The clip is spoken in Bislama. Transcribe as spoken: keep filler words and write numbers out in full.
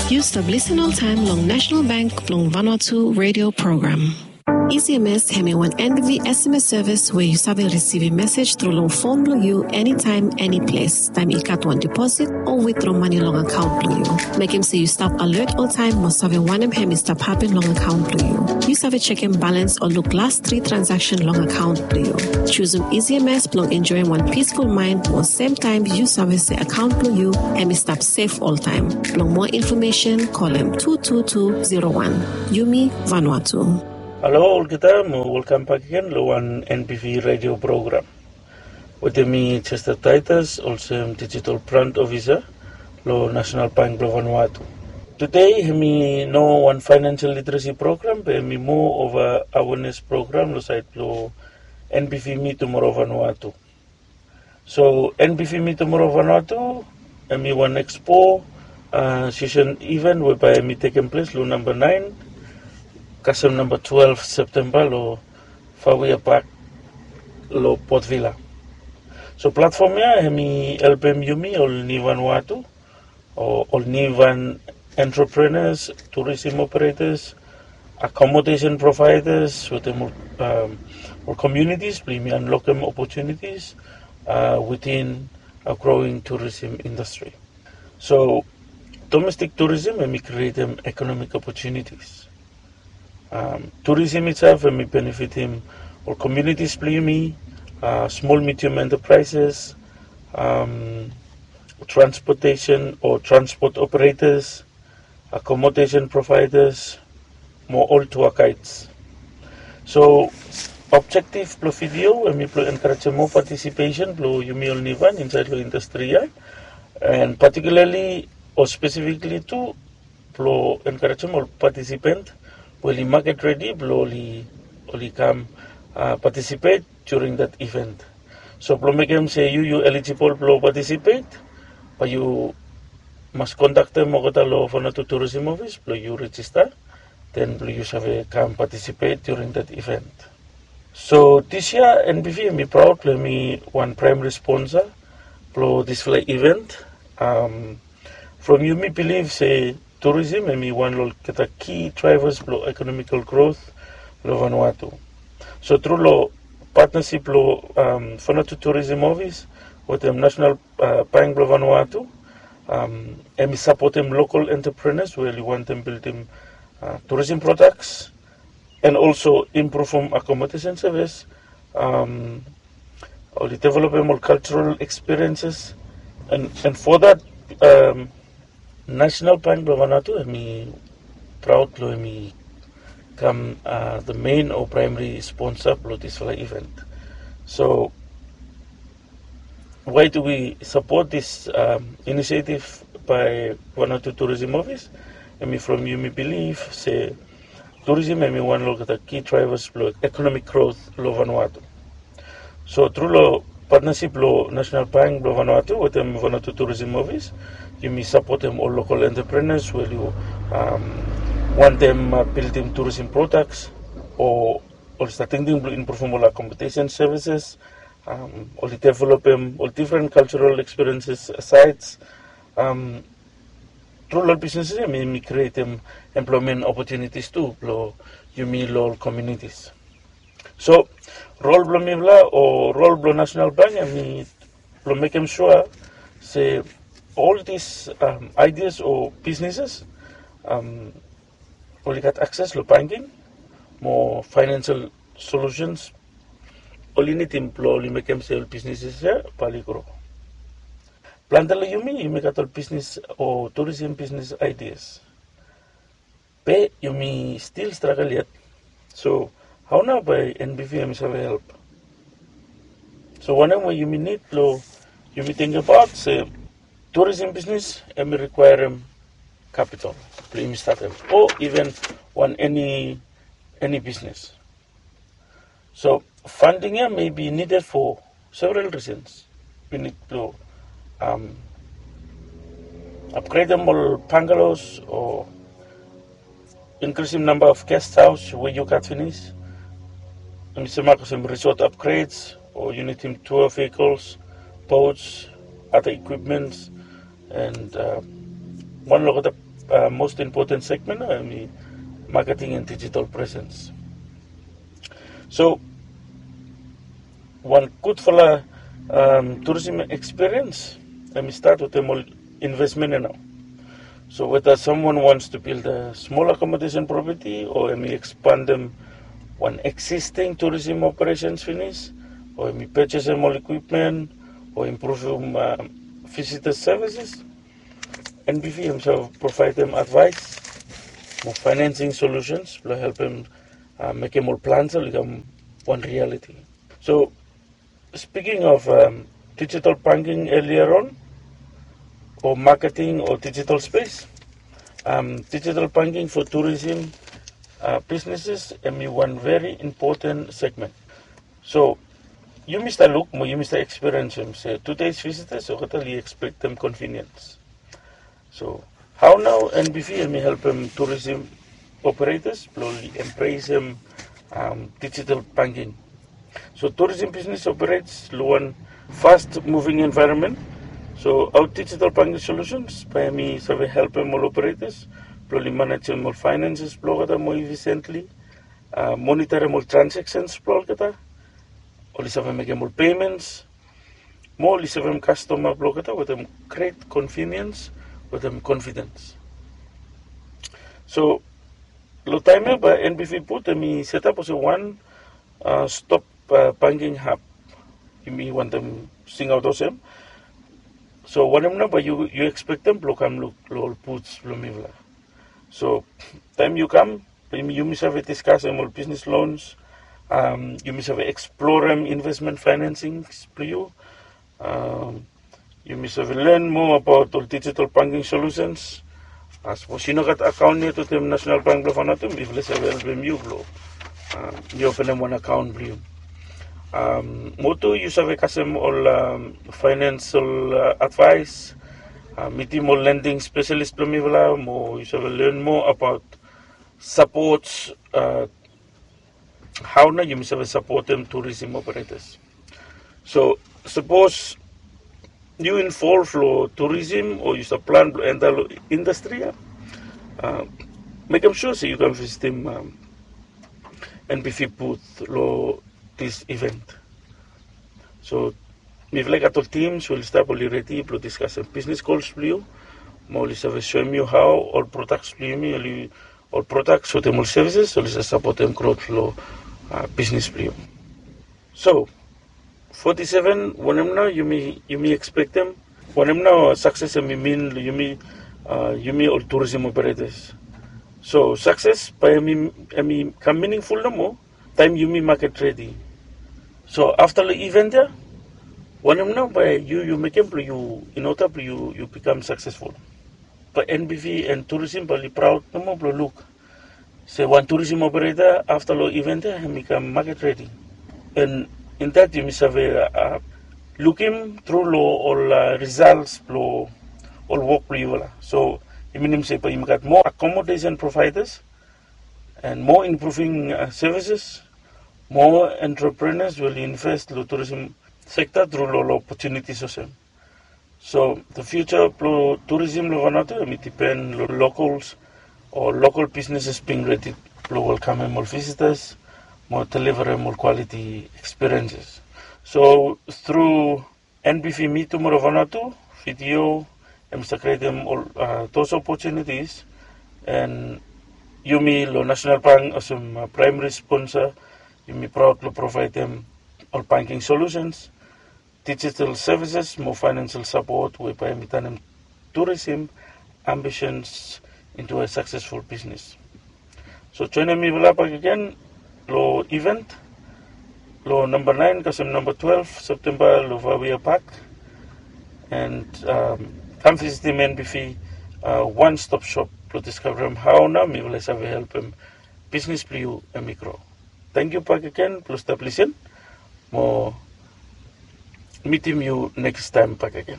Yu stap lisen oltaem long National Bank blong Vanuatu radio program. E C M S hemi wan N B V S M S service we yu save risivim mesej tru long fon blong yu enitaem, eniples, taem i gat wan deposit o withdraw mane long akaont blong yu. Mekem se yu stap alert oltaem mo save wanem hemi stap hapen long akaont blong yu. Yu save jekem balans o luk las tri transaction long akaont blong yu. Jusum E C M S blong enjoem wan peaceful mind mo semtaem yu save se akaont blong yu hemi stap sef oltaem. Blong moa infomesen, kolem tu tu tu zero wan. Yumi Vanuatu. Halo olgeta, mo welkam bak agen long wan N B V radio program. Wetem mi Chester Titus, olsem digital brand officer long National Bank blong Vanuatu. Tude hemi no wan financial literacy program, be hemi moa of a awareness program long saed blong N B V Meet Tomorrow Vanuatu. So N B V Meet Tomorrow Vanuatu hemi wan expo, uh, session event webae hemi tekem ples long namba naen kasem namba twelve September long Fauia Park long Port Vila. So platform ia hemi helpem yumi ol niu Vanuatu o ol nivan entrepreneurs, tourism operators, accommodation providers wetem ol, um, ol communities blong yumi unlockem opportunities, uh, within a growing tourism industry. So domestic tourism hemi createm economic opportunities. Um, tourism itself hemi benefitem ol communities blong yumi, uh, small medium enterprises, um, transportation o transport operators, accommodation providers, mo ol tour guides. So objective blong video hemi blong encouragem moa participation blong yumi ol nivan insaed long industry ia, and particularly o specifically tu blong encouragem ol participant we oli market ready blong oli, oli kam, uh, participate during that event. So blong mekem se yu, yu eligible blong participate, bae yu mas kontaktem olgeta long Vanuatu Tourism Office blong yu register, then blong yu save kam participate during that event. So this year N B V hemi proud blong hemi wan primary sponsor blong disfala event. Um, from yumi bilif se tourism hemi wan long olgeta key drivers blong economical growth long Vanuatu. So tru long partnership blong, um, Vanuatu Tourism Office wetem National, uh, Bank blong Vanuatu, um, hemi sapotem local entrepreneurs we oli wantem bildim, uh, tourism products, and also improvem accommodation service, um, oli developem ol cultural experiences, and, and for that, um, National Bank blong Vanuatu hemi proud blong hemi kam, uh, the main o primary sponsor blong disfala event. So why do we support this, um, initiative by Vanuatu Tourism Office? Hemi from yumi bilif se tourism hemi wan long olgeta key drivers blong economic growth long Vanuatu. So tru long partnership blong National Bank blong Vanuatu wetem Vanuatu Tourism Office, yumi sapotem ol local entrepreneurs we oli, um, wantem, uh, bildim tourism products o oli stap tingting blong improvem ol accommodation services, um, oli developem ol different cultural experiences sites. Um, tru long ol businesses ia hemi createm employment opportunities tu blong yumi long ol communities. So role blong mifala o role blong National Bank hemi blong mekem sua se ol dis, um, ideas o businesses, um, oli gat access long banking mo financial solutions oli nidim blong oli mekem se ol businesses ia bae oli grow. Plante long yumi, yumi gat ol business o tourism business ideas. Be yumi still struggle yet. So hao nao bae N B V hemi save help? So wanem we yumi nid blong yumi tingbaot se tourism business hemi requirem capital blong yumi statem, o even wan eni, eni business. So funding ia may be needed for several reasons. Yu nid blong, um, upgradem ol bungalows o inkrisim namba of guest house we yu gat finis. Hemi sem olsem resort upgrades, o yu nidim tour vehicles, boats, other equipments, and, uh, wan long olgeta Most important segment nao hemi marketing and digital presence. So wan gudfala tourism experience hemi stat wetem ol investment ya nao. So whether someone wants to build a small accommodation property o hemi expandem wan existing tourism operations finis, o hemi purchasem ol equipment, o impruvem visitor services, NBV hemi save provaedem advice mo financing solutions blong helpem mekem ol plans ya oli kam wan reality. So speaking of digital banking earlier on, o marketing o digital space, digital banking for tourism businesses hemi wan very important segment. So yumi stap luk mo yumi stap experiencem se today's visitors olgeta oli expectem convenience. So hao nao NBV hemi helpem tourism operators blong oli embracem digital banking? So tourism business operates long wan fast moving environment. So hao digital banking solutions bae hemi save helpem ol operators blong oli manejem ol finances blong olgeta moa efficiently, monitorem ol transactions blong olgeta, oli save mekem ol payments, mo oli sevem kastoma blong olgeta wetem great convenience wetem confidence. So long taem ya bae NBV Booth hemi setap olsem wan stop banking hub. Yumi wantem singaot olsem. So wanem nao bae yu expectem blong kam luk long ol booths blong mifala? So taem yu kam, yumi save diskasem ol business loans, yumi save explorem investment financings blong yu, yumi save learn moa abaot ol digital banking solutions. Sapos yu no gat akaon yet wetem National Bank blong Vanuatu, mifala save helpem yu blong yu openem wan akaon blong yu. Mo tu yu save kasem ol financial advice, mitim ol lending specialist blong mifala mo yu save learn moa abaot support, hao nao yumi save sapotem tourism operators. So sapos yu involve long tourism o yu stap plan blong enta long industry ya, mekem sua se yu kam visitim NBV Booth long this event. So mifala i gat ol teams we oli stap, oli redi blong diskasem business goals blong yu, mo oli save soem yu hao ol products blong yumi, ol products wetem ol services oli save sapotem growth long business blong yu. So forty-seven, wanem nao yumi expectem? Wanem nao success hemi mean long yumi, yumi ol tourism operators? So success bae hemi kam meaningful nomo taem yumi market ready. So afta long event ya, wanem nao bae yu mekem blong yu, in order blong yu bikam successful? Bae NBV and tourism bae oli proud nomo blong luk se wan tourism operator afta long event ya hemi kam market ready. And in that yumi save lukim tru long ol results blong ol wok blong yufala. So i minim se bae yumi gat moa accommodation providers and moa improving services, moa entrepreneurs we oli invest long tourism sector tru long ol opportunities olsem. So the future blong tourism long Vanuatu hemi dipen long locals o local businesses being ready blong welkamem ol visitors mo deliverem ol quality experiences. So through NBV Mi Tumoro Vanuatu, VTO, hemi save createm ol those opportunities. And yumi long National Bank olsem primary sponsor, yumi proud blong provaedem ol banking solutions, digital services mo financial support we bae hemi tanem tourism ambitions into a successful business. So joenem mifala bakegen long event long namba naen kasem namba twelve September long Vawia Park. And kam visitim NBV one stop shop blong diskavarem hao nao mifala i save helpem bisnis blong yu hemi gro. Tangkiu bakegen blong stap lisin mo mitim yu nekis taem bakegen.